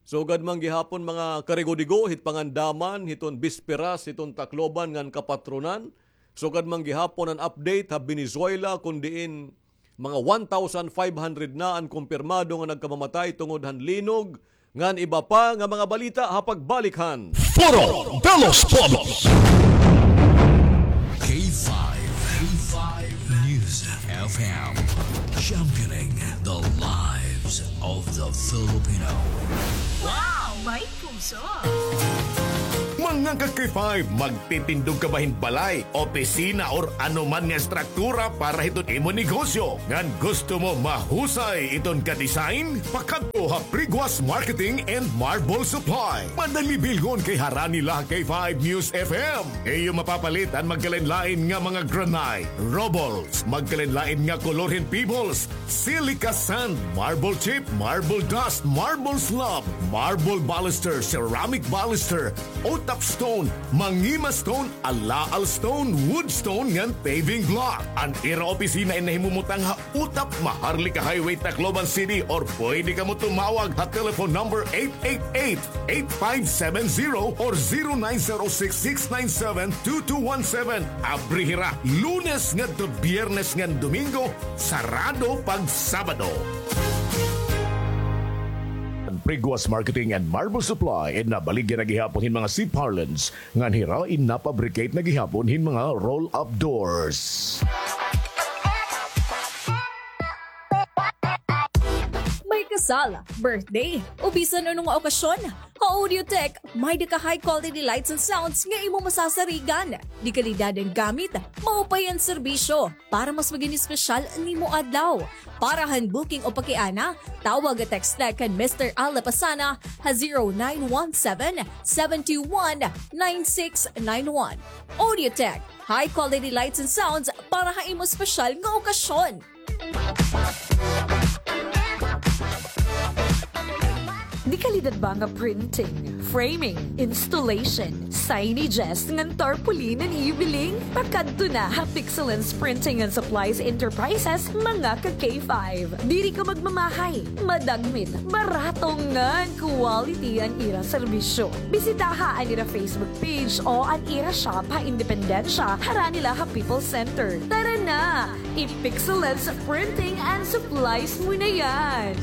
Sugad man gihapon mga karigo-digo hit pangandaman hiton bisperas hiton Tacloban ngan kapatronan. Sugad man gihapon an update ha Venezuela kon diin Mga one thousand five hundred na an kumpirmado nga nagkamamatay tungod han linog, ngan iba pa nga mga balita ha pagbalik han Foro de los Pueblos. K five, K five News F M, championing the lives of the Filipino. Wow! May puso! Mga ka-K five, magtitindog ka ba hin balay, opisina, or ano man nga estruktura para hiton imo negosyo? Ngan gusto mo mahusay iton ka-design? Pakadto ha Priguas Marketing and Marble Supply. Madali bilngon kay harani la ha K five News F M. Iyo mapapalit an magkalain-lain nga mga granite, rubbles, magkalain-lain nga kolor hin pebbles, silica sand, marble chip, marble dust, marble slab, marble baluster, ceramic baluster, utap stone, mangima stone, alaal stone, wood stone, ngan paving block. An ira opisina in nahimumutang ha Utap, Maharlika Highway, Tacloban City, or pwede kamo tumawag ha telephone number eight eight eight, eight five seven zero or zero nine zero six, six nine seven, two two one seven. Abri hira Lunes ngadto Biyernes ngan Domingo, sarado pag Sabado. An Priguas Marketing and Marble Supply in nabaligya na gihapon hin mga C-parlance ngan hira in napabricate na gihapon hin mga roll-up doors. May kasal, birthday, o bisan ano nga okasyon, ha Audiotech, may-ada ka high quality lights and sounds nga imo masasarigan. De kalidad an gamit, maupay an serbisyo, para mas magin espesyal an imo adlaw. Para han booking o pakiana, tawag o text la kan Mister Al Lapasana ha zero nine one seven, seven two one, nine six nine one. Audiotech, high quality lights and sounds para ha imo espesyal nga okasyon. De kalidad ba nga printing, framing, installation, signages, ngan tarpaulin an iyo biling? Pakadto na ha Pixelance Printing and Supplies Enterprises, mga ka-K five. Diri ka magmamahay, madagmit, barato ngan quality an ira serbisyo. Bisitaha an ira Facebook page o an ira shop ha Independencia, harani la ha People's Center. Tara na! I-Pixelance Printing and Supplies mo na yan!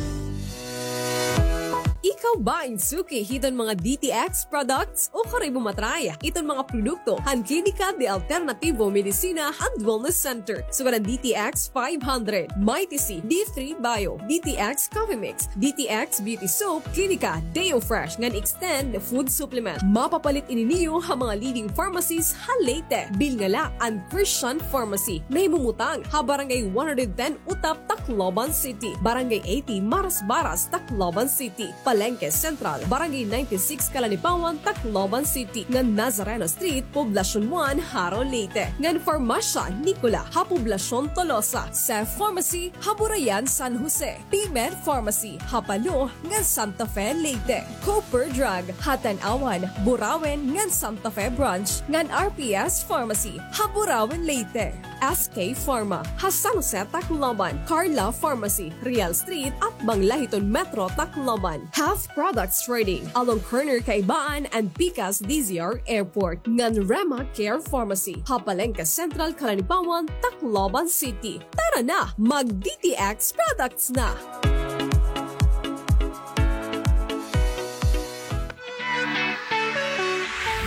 Ikaw ba in suki hiton mga D T X products? O karoy mo ma-try iton mga produkto han Klinika de Alternativo Medicina and Wellness Center, sugad han D T X five hundred, Mighty C, D three Bio, D T X Coffee Mix, D T X Beauty Soap, Klinika Deo Fresh, ngan Extend Food Supplement. Mapapalit ini niyo ha mga leading pharmacies ha Leyte. Bilnga la an Christian Pharmacy, nahimumutang ha Barangay one hundred ten Utap, Tacloban City, Barangay eighty Marasbaras, Tacloban City, Palengke Central, Barangay ninety-six Calanipawan, Tacloban City, ngan Nazareno Street, Poblacion one, Jaro, Leyte, ngan Farmasya Nicola ha Poblacion Tolosa, Cef Pharmacy ha Burayan, San Jose, P-Med Pharmacy ha Palo ngan Santa Fe, Leyte, Cooper Drug ha Tanauan, Burauen ngan Santa Fe Branch, ngan R P S Pharmacy ha Burauen, Leyte. S K Pharma ha San Jose, Tacloban, Carla Pharmacy, Real Street, atbang la hiton Metro Tacloban, Half Products Trading, along corner Kaibaan and pikas D Z R Airport, ngan Rema Care Pharmacy ha Palengke Central, Calanipawan, Tacloban City. Tara na, mag-D T X products na!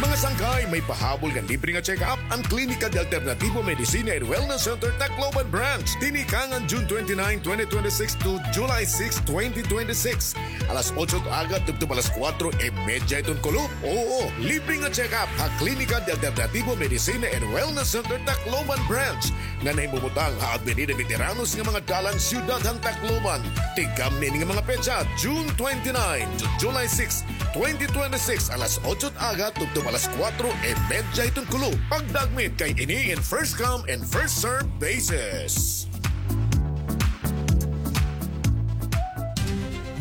Mga sangkay, may pahabol ngan libre nga check-up an Klinika de Alternativo Medicina and Wellness Center Tacloban Branch. Tinikangan June twenty-nine, twenty twenty-six to July six, twenty twenty-six. Alas otso it aga tubtob alas kuwatro y medya iton kulop. Oo, libre nga check-up ha Klinika de Alternativo Medicina and Wellness Center Tacloban Branch, nga nahimumutang ha Avenida Veteranos nga mga dalan, siyudad han Tacloban. Tikang niini nga mga petsa, June twenty-nine to July six, twenty twenty-six, alas otso it aga tubtob alas kuwatro y medya iton kulop. Pagdagmit kay ini in first come and first serve basis.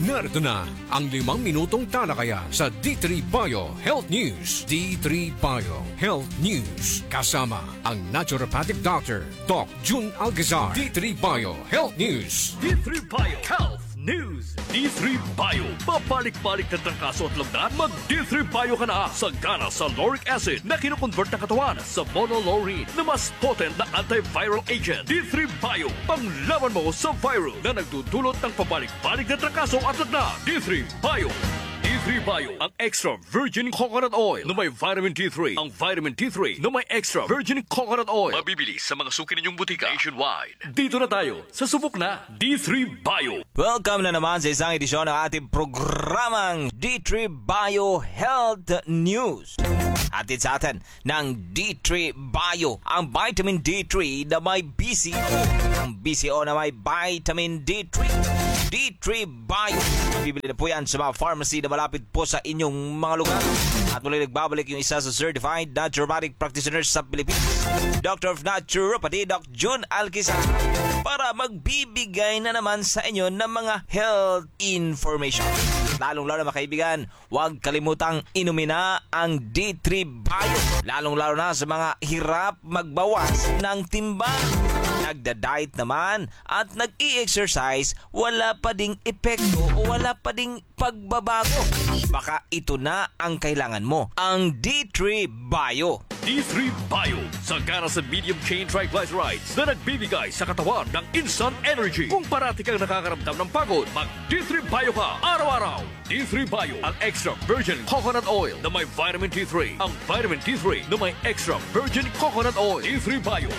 Narito na ang limang minutong talakayan sa D three Bio Health News. D three Bio Health News, kasama ang naturopathic doctor, Doc Jun Alcazar. D three Bio Health News. D three Bio Health News. D three Bio. Pabalik-balik na trangkaso at lagnat? Mag D three Bio ka na. Sagana sa lauric acid na kinoconvert ng katawan sa monolaurin na mas potent na antiviral agent. D three Bio. Panglaban mo sa virus na nagdudulot ng pabalik-balik na trangkaso at lagnat. D three Bio. D three Bio. Ang extra virgin coconut oil na may vitamin D three. Ang vitamin D three na may extra virgin coconut oil. Mabibili sa mga suki ninyong butika nationwide. Dito na tayo sa subok na D three Bio. Welcome na naman sa isang edisyon ng ating programang D three Bio Health News. Hatid sa atin ng D three Bio, ang vitamin D three na may B C O. Ang B C O na may vitamin D three. D three Bio. Bibili na po yan sa mga pharmacy na malapit po sa inyong mga lugar. At muli nagbabalik yung isa sa certified naturopathic practitioners sa Pilipinas, Doctor of Naturopathy, Doc Jun Alquizar, para magbibigay na naman sa inyo ng mga health information. Lalong-lalo, mga kaibigan, huwag kalimutang inumin na ang D three Bio, lalong-lalo na sa mga hirap magbawas ng timbang. Nagda-diet naman at nag-i-exercise, wala pa ding epekto o wala pa ding pagbabago. Baka ito na ang kailangan mo, ang D three Bio. D three Bio, sagana sa medium chain triglycerides na nagbibigay sa katawan ng instant energy. Kung parati kang nakakaramdam ng pagod, mag D three Bio ka araw-araw. D three Bio, ang extra virgin coconut oil na may vitamin D three. Ang vitamin D three na may extra virgin coconut oil. D three Bio.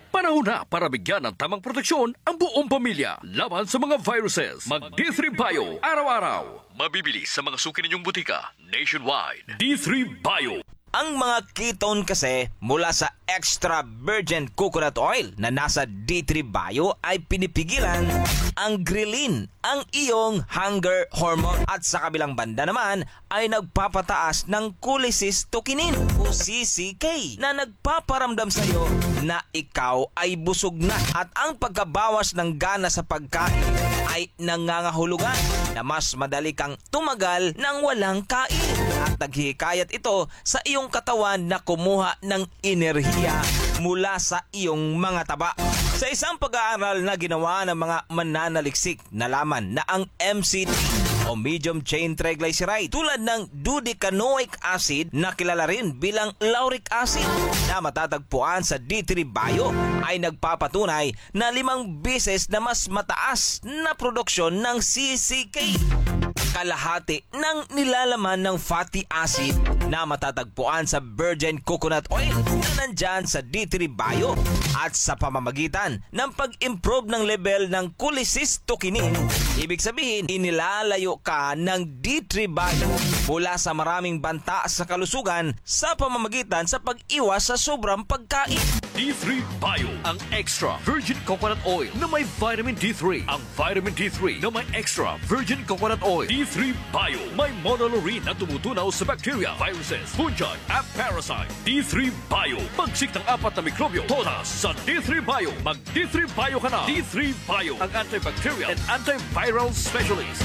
Panahon na para bigyan ng tamang proteksyon ang buong pamilya laban sa mga viruses. Mag D three Bio araw-araw. Mabibili sa mga suki ninyong butika nationwide. D three Bio. Ang mga ketone kasi mula sa extra virgin coconut oil na nasa D three Bio ay pinipigilan ang ghrelin, ang iyong hunger hormone. At sa kabilang banda naman ay nagpapataas ng cholecystokinin o C C K na nagpaparamdam sa iyo na ikaw ay busog na. At ang pagkabawas ng gana sa pagkain ay nangangahulugan na mas madali kang tumagal ng walang kain at naghihikayat ito sa iyong katawan na kumuha ng enerhiya mula sa iyong mga taba. Sa isang pag-aaral na ginawa ng mga mananaliksik, nalaman na ang M C T o medium chain triglyceride tulad ng dodecanoic acid na kilala rin bilang lauric acid na matatagpuan sa D three Bio ay nagpapatunay na limang beses na mas mataas na produksyon ng C C K, kalahati ng nilalaman ng fatty acid na matatagpuan sa virgin coconut oil na nandyan sa D three Bio. At sa pamamagitan ng pag-improve ng level ng cholecystokinin, ibig sabihin, inilalayo ka ng D three Bio mula sa maraming banta sa kalusugan sa pamamagitan sa pag-iwas sa sobrang pagkain. D three Bio, ang extra virgin coconut oil na may vitamin D three. Ang vitamin D three na may extra virgin coconut oil. D three Bio, may monolaurin na tumutunaw sa bacteria, viruses, fungi, at parasite. D three Bio, pagsik ng apat na mikrobyo, todas sa D three Bio. Mag D three Bio ka na. D three Bio, ang antibacterial and antiviral specialist.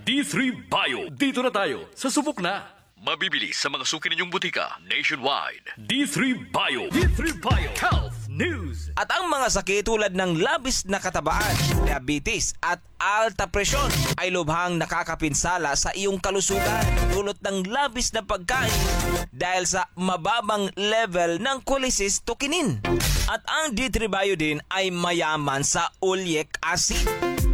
D three Bio, dito na tayo sa subok na. Mabibili sa mga suki ninyong butika nationwide. D three Bio. D three Bio Health News. At ang mga sakit tulad ng labis na katabaan, diabetes, at alta presyon ay lubhang nakakapinsala sa iyong kalusugan dulot ng labis na pagkain dahil sa mababang level ng cholecystokinin. At ang D three Bio din ay mayaman sa oleic acid,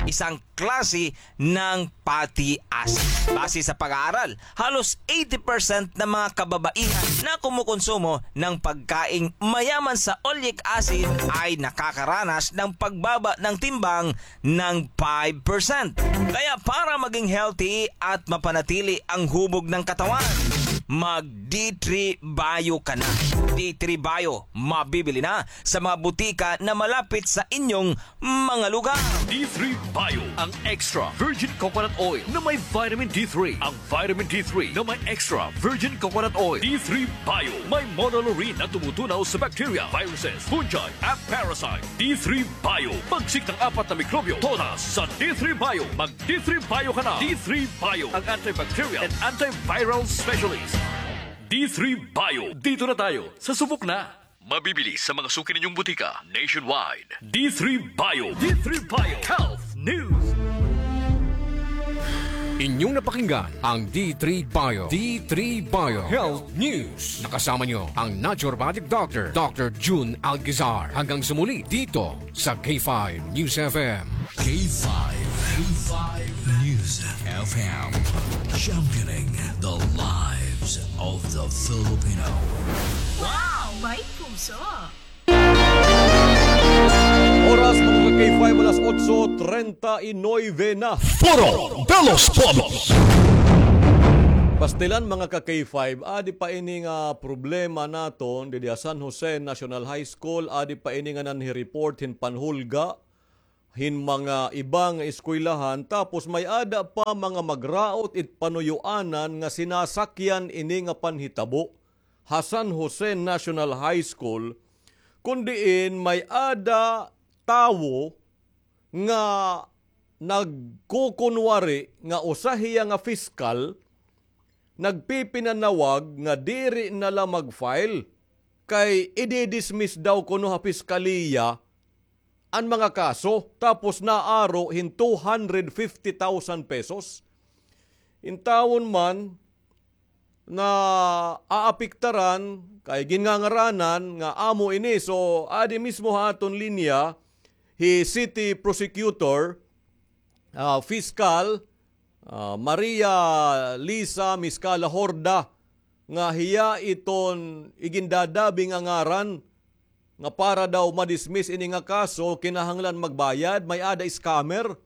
isang klase ng fatty acid. Base sa pag-aaral, halos eighty percent ng mga kababaihan na kumukonsumo ng pagkaing mayaman sa oleic acid ay nakakaranas ng pagbaba ng timbang ng five percent. Kaya para maging healthy at mapanatili ang hubog ng katawan, mag D three Bio ka na. D three Bio, mabibili na sa mga butika na malapit sa inyong mga lugar. D three Bio, ang extra virgin coconut oil na may vitamin D three. Ang vitamin D three na may extra virgin coconut oil. D three Bio, may monolaurin na tumutunaw sa bacteria, viruses, fungi, at parasite. D three Bio, pagsik ng apat na mikrobyo, todas sa D three Bio. Mag D three Bio ka na. D three Bio, ang antibacterial and antiviral specialist. D three Bio, dito na tayo sa subok na. Mabibili sa mga suki ninyong butika nationwide. D three Bio. D three Bio Health News. Inyong napakinggan ang D three Bio, D three Bio Health News. Nakasama nyo ang naturopathic doctor, Doctor Jun Algizar. Hanggang sa muli dito sa K five News F M. K five, K five News F M, championing the lives of the Filipino. Wow! May puso! Oras, mga ka-K five, alas otso treinta y nueve na. Foro de los Pueblos. Pastilan, mga ka-K five, adi pa ini nga problema naton didi ha San Jose National High School, adi pa ini nga nanhi-report hin panhulga hin mga iba nga eskwelahan, tapos may-ada pa mga magraot it panuyuanan nga sinasakyan ini nga panhitabo ha San Jose National High School, kun diin may-ada tawo nga nagkukunwari nga usa hiya nga piskal, nagpipinanawag nga diri na la mag-file kay idi-dismiss daw kuno ha piskaliya an mga kaso, tapos naaro hin two hundred fifty thousand pesos. Intawon man, naaapektaran kay ginngangaranan nga amo ini. So, adi mismo ha aton linya hi City Prosecutor, ah, Fiscal, ah, Maria Lisa Miscala Horda, nga hiya iton igindadabi nga ngaran nga para daw ma-dismiss ini nga kaso, kinahanglan magbayad, may-ada scammer.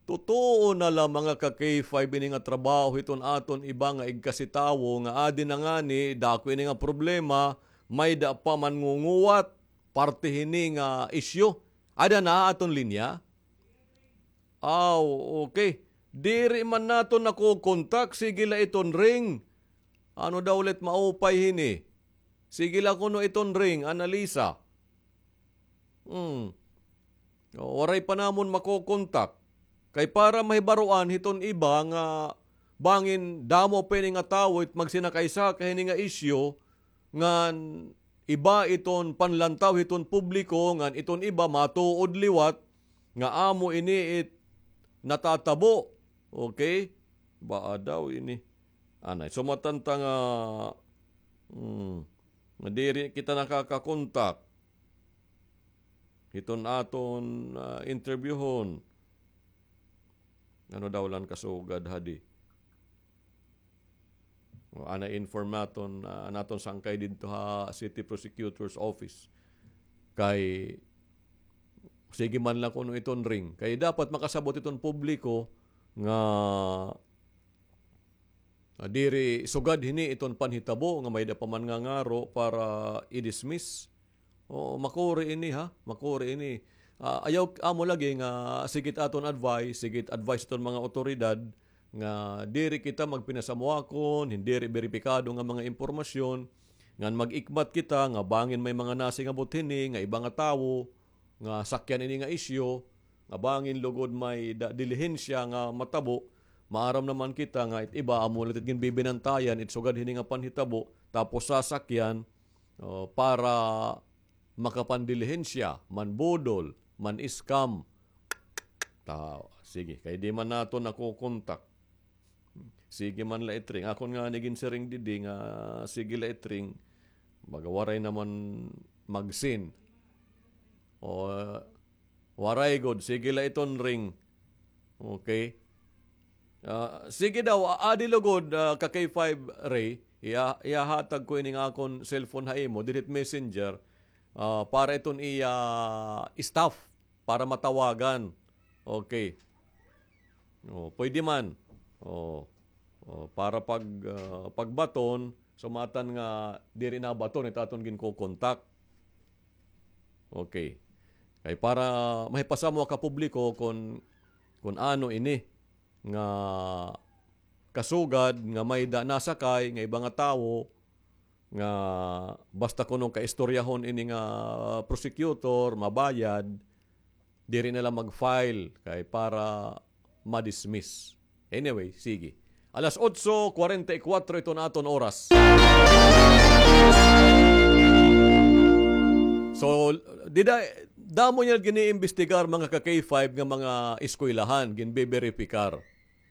Totoo na la, mga ka-K five, ini nga trabaho hiton aton iba nga igkasi tawo nga adi na ngani, dako ini nga problema, may-ada pa manngunguwat parte hini nga isyu. Ada na aton linya? Aw, okay. Diri man naton nakokontak. Sige la iton ring. Ano daw ulit maupay hini? Sige la kuno iton ring, Annalisa. Hmm. O, waray pa namon makokontak. Kay para mahibaroan hiton iba nga bangin damo pa ini nga tawo it magsinakay-sakay hini nga isyu, ngan iba iton panlantaw hiton publiko, ngan iton iba matuod liwat nga amo ini it natatabo. Okay? Baa daw ini. Anay, sumatan ta nga, hmm, nga diri kita nakakakontak hiton aton, ah, interviewhon. Ano daw la an kasugad hadi? O, ana inform naton, ah, an aton sangkay didto ha City Prosecutor's Office. Kay, sige man la kuno iton ring. Kay dapat makasabot iton publiko nga Ah, diri sugad hini iton panhitabo nga may-ada pa man nga ngaro para i-dismiss. O, makuri ini, ha? Makuri ini. Ah, ayaw amo lagi nga sige it aton advice, sige it advice iton mga awtoridad nga diri kita magpinasamuakon hin diri beripikado nga mga impormasyon, ngan mag-ikmat kita nga bangin may mga nasingabot hini nga iba nga tawo, nga sakyan ini nga isyu, nga bangin lugod may da-, dilihensya nga matabo, maaram naman kita nga it iba amo la it ginbibinantayan, it sugad hini nga panhitabo, tapos sasakyan, o, para makapandilihensya, manbudol, man-scam. Ta-, sige, kay di man naton nakokontak. Sige man la it ring. Akon ngani ginsiring didi nga sige la it ring. Baga waray naman mag-seen. O, waray gud. Sige la iton ring. Okay. Ah, sige daw, a-, adi lugod, ah, ka K five Ray. Iya-, ihahatag ko ini nga akon cellphone ha imo, didit messenger, ah, para iton iya staff para matawagan. Okay. O, pwede man. O, o, para pag, ah, pagbaton, sumatan nga diri nabaton it aton ginkokontak. Okay. Kay para mahipasamuak ha publiko kon, kon ano ini nga kasugad nga may-ada nasakay nga iba nga tawo, nga basta kuno kaistoryahon ini nga prosecutor, mabayad, diri na la mag-file kay para ma-dismiss. Anyway, sige. Alas otso kwarenta y kuwatro iton aton oras. So, dida, damo niya giniimbestigar, mga ka K five, nga mga eskwelahan, ginbeberipikar.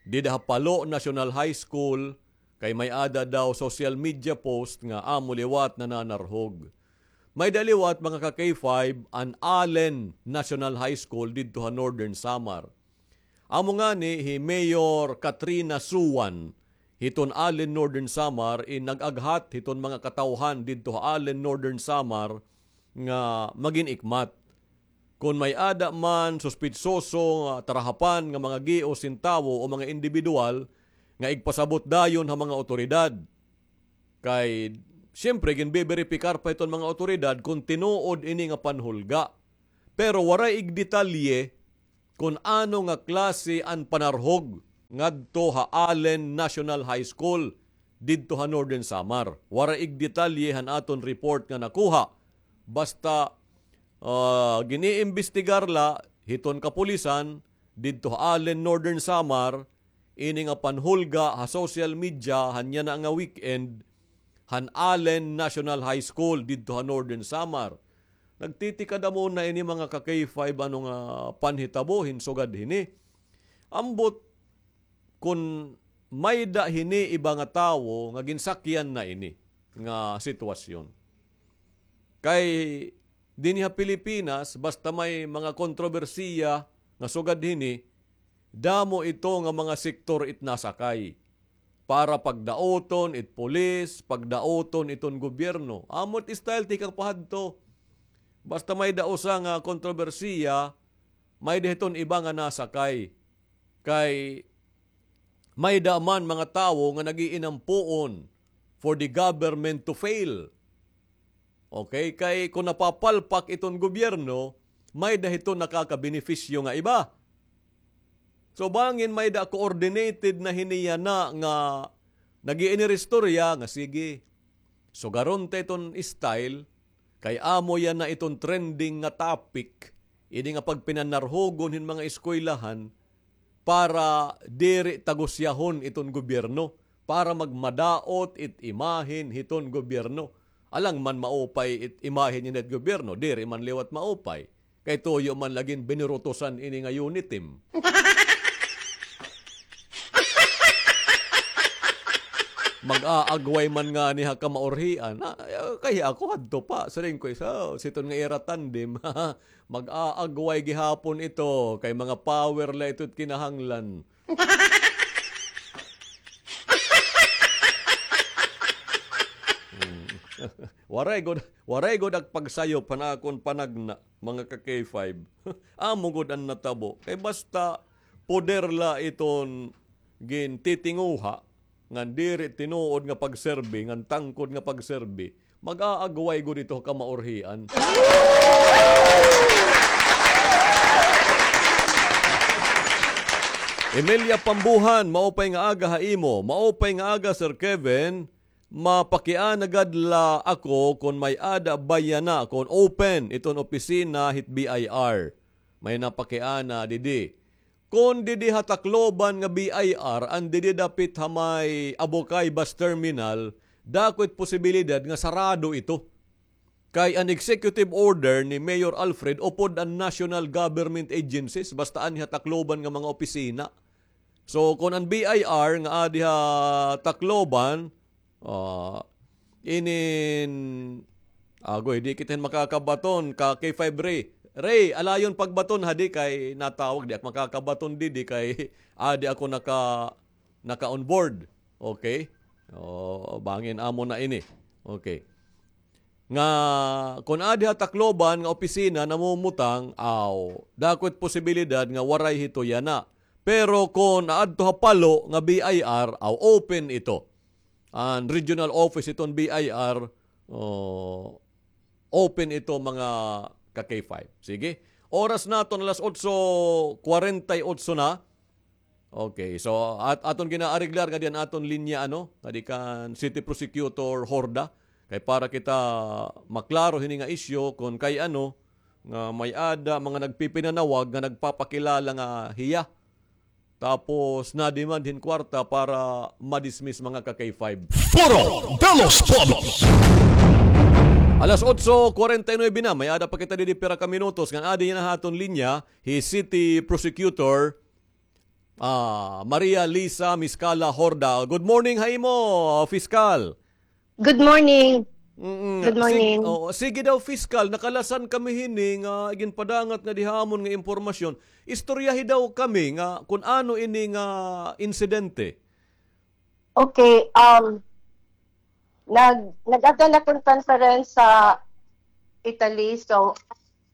dida ha Palo National High School, kay may-ada daw social media post nga amo liwat nananarhog. May-ada liwat, mga ka-K five, an Allen National High School didto ha Northern Samar. Amo ngani hi Mayor Katrina Suan hiton Allen, Northern Samar, in nag-aghat hiton mga katawhan didto ha Allen, Northern Samar, nga magin-ikmat. Kon may-ada man suspitsoso nga tarahapan nga mga gios hin tawo o mga indibidwal nga igpasabot dayon ha mga awtoridad. Kay, siyempre, ginbeberipikar pa hiton mga awtoridad kon tinuod ini nga panhulga. Pero waray igdetalye kon ano nga klase an panarhog ngadto ha Allen National High School didto ha Northern Samar. Waray igdetalye han aton report nga nakuha. Basta, ah, giniimbestigar la hiton kapulisan didto ha Allen, Northern Samar, ini nga panhulga ha social media han yana nga weekend han Allen National High School didto ha Northern Samar. Nagtitikadamon na ini, mga ka-K five, ano nga panhitabo hin sugad hini. Ambot kon may-ada hini iba nga tawo nga ginsakyan na ini nga sitwasyon. Kay dinhi ha Pilipinas, basta may mga kontrobersiya nga sugad hini, damo ito nga mga sektor it nasakay para pagdaoton it pulis, pagdaoton iton gobyerno. Amo it style tikang pahadto. Basta may-ada usa nga kontrobersiya, may-ada hiton iba nga nasakay. Kay may-ada man mga tawo nga nag-iinampuon for the government to fail. Okay? Kay kon napapalpak iton gobyerno, may-ada hiton nakakabenepisyo nga iba. So, bangin may-ada coordinated na hini yana nga nag-iiniristorya nga, sige, sugaron ta iton style, kay amo yana iton trending nga topic, ini nga pagpinanarhogon hin mga eskwelahan, para diri tagusyahon iton gobyerno, para magmadaot it imahen hiton gobyerno. Alang man maupay it imahen yana hit gobyerno, diri man liwat maupay. Kay tuyo man la gin binirutusan ini nga Unitim. Mag-aagway man ngani ha kamaurhian. Ah, kay ako hadto pa, siring ko, isa, siton nga ira tandem. Mag-aagway gihapon ito, kay mga power la ito it kinahanglan. Hmm. Waray gud, waray gud ak pagsayop han akon panagna, mga ka-K five. Amo gud an natabo. Kay basta poder la iton gintitinguha, ngan diri tinuod nga pagserbi, ngan tangkod nga pagserbi, mag-aagway gud ito kamaurhian. Emilia Pambuhan, maupay nga aga ha imo. Maupay nga aga, Sir Kevin. Mapakiana gad la ako kon may-ada ba yana kon open iton opisina hit B I R. May napakiana didi. Kon didi ha Tacloban nga B I R, an didi dapit ha may Abocay Bus Terminal, dako it posibilidad nga sarado ito. Kay an executive order ni Mayor Alfred upod an national government agencies, basta anhi ha Tacloban nga mga opisina. So, kon an B I R nga adi ha Tacloban, ah, inin, agoy, di kita hin makakabaton, ka-K five Ray. Ray, alayon pagbaton hadi kay natawag, di ak makakabaton didi kay adi ako naka, naka-on board. Okay? O, bangin amo na ini. Okay. Nga, kon adi ha Tacloban nga opisina namumutang, aw, dako it posibilidad nga waray hito yana. Pero kon aadto ha Palo nga B I R, aw, open ito. An regional office iton B I R, o, open ito, mga ka-K five. Sige. Oras naton alas otso kwarenta y otso na. Okay, so at-, aton ginaareglar ngadi an aton linya, ano, ngadi kan City Prosecutor Horda, kay para kita maklaro hini nga isyu kon kay ano nga may-ada mga nagpipinanawag nga nagpapakilala nga hiya. Tapos na-demand hin kwarta para ma-dismiss, mga ka-K five. Foro de los Pueblos. Alas otso kwarenta y nuebe na, may-ada pa kita didi pira ka minutos ngan adi na ha aton linya hi City Prosecutor Ah, Maria Lisa Miscala Horda. Good morning ha imo, Fiskal. Good morning. Mm-mm. Good morning. Sig-, oo, sige daw, Fiskal, nakalasan kami hini nga ginpadangat nga diha amon nga impormasyon. Istoryahi daw kami nga kun ano ini nga insidente. Okay, um, nag-, nag-attend ako ng conference sa Italy. So,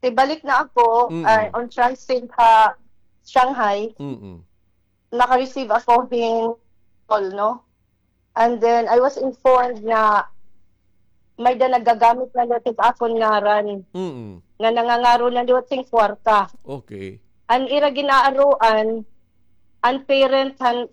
tibalik na ako, Mm-mm. ah, on transit ha Shanghai. Mm-mm. Naka-receive ako hin call, no? And then, I was informed na may da nagagamit na liwat hin akon ngaran. Mm-mm. Nga nangangaro na liwat hin kwarta. Okay. An ira ginaaruan, an parent han